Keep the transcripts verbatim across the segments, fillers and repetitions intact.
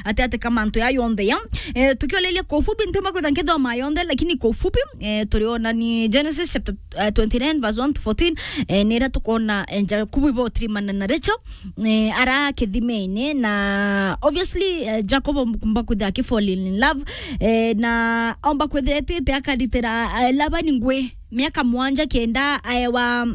ati ati ka mantu ya yonthe ya. Eh, tukioleria kwa ufupi, ntiumba kwitha nkithoma yonthe, lakini kwa ufupi, eh, turiona ni Genesis chapter, eh, twenty-nine verse one to fourteen, eh, nira tukona, eh, Jakubu ibo tirimana na Rachel, eh, ara kithimene, na obviously, eh, Jacob omba kwitha aki fall in love, eh, na omba kwitha etite akaritira, eh, Labani ngui miaka mwanja kenda aewa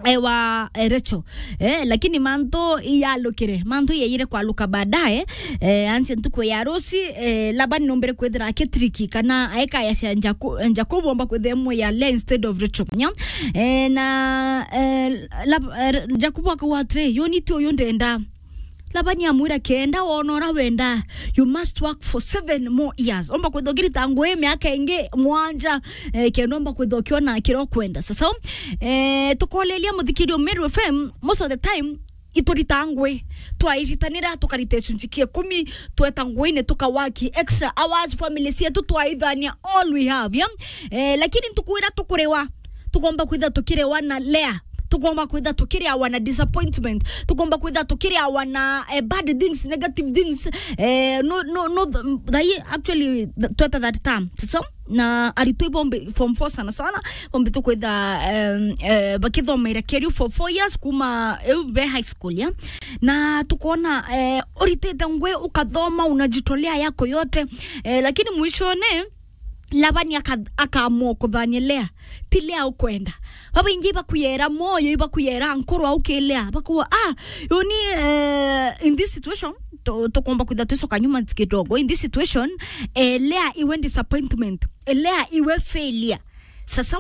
ewa, eh, Rachel. Eh, lakini mantu iyalukire, mantu iyeyire kwaluka baadaye, eh, ansi ntuku ya ruci, eh, Laban nombere kwithira akitriki kana aekaya cia Jaku-, Jacob omba kwithira emwe ya Leah instead of Rachel. Nya? Eh, na, eh, Lab-, eh, Jacob akauga atiri, "Yo ni ti uyu ndenda." Labani amwira, "Kenda wona ura wenda, you must work for seven more years." Omba kwithira ukirita ngui miaka ingi mwanja, eh, kenda omba kwithira ukiona kiria ukwenda. Sasa, eh, tukoleria muthikirio Meru F M, most of the time, iturita ngui. Twairitanira, tukarita gicunji kia ikumi, tweta nguine, tukawaki extra hours, family cietu twaithania, all we have, yeah? Eh, lakini ntuku iria tukuriwa, tukomba kwitha tukirewa na Leah. Tukomba kwitha tukirewa na disappointment. Tukomba kwitha tukirewa na, eh, bad things, negative things. Eh, no, no, no, th-, thai, actually, th-, tweta that term. So, na aritwa ibombe form four sana sana, bombe tukwitha, em, eh, bakithomera Kerio for four years kuma eu be high school, ya. Na tukona, eh, uritite ngui ukathoma, unajitolea yako yote. Eh, lakini mwishone, Labani aka-, akaamua kuthania Leah. Ti Leah ukwenda. Babaingi ibakuyera moyo, ibakuyera nkoro au ki Leah. Bakuwa, ah, yoni, eh, in this situation, tu-, tukomba kwitha twicoka nyuma kidogo. In this situation, eh, Leah iwe disappointment. Eh, Leah iwe failure. Sasa,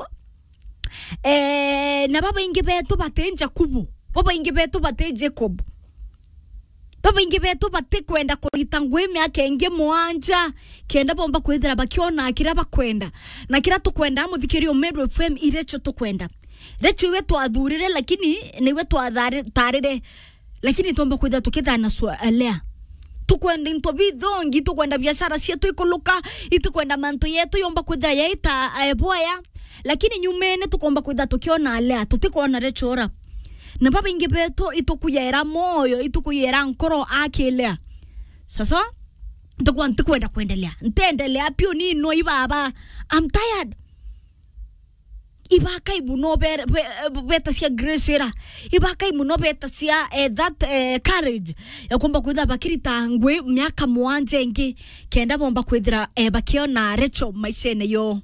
eh, na babaingi betu bati Jakubu. Babaingi betu bati Jacob. Babaingi betu batikwenda kurita ngui miaka ingi mwanja, kenda bomba kwithira bakiona kiria bakwenda. Na kiria tukwenda, muthikiria Meru F M, i Rachel tukwenda. Rachel iwe twathurire, lakini niwe twathari-, tarire. Lakini tomba kwithira tukithana swa, eh, Leah. Tukwenda into bithongi, tukwenda biashara cietu ikuluka, itukwenda mantu yetu yomba kwithira yaita, eh, boya. Lakini nyumene tukomba kwitha tukiona Leah, tutikwona Rachel. Na babaingi betu itukuyera moyo, itukuyera nkoro aki Leah. Sasa, ntukwa ntikwenda kwendelea. Ntendelea piu ni no ibaba. I'm tired. Ibakai muno be-, be-, betacia Grace ira. Ibakai muno betacia, eh, that, eh, courage ya kumba kwitha bakirita ngui miaka mwanja ingi, kenda bomba kwithira, eh, bakiona Rachel maishene yo.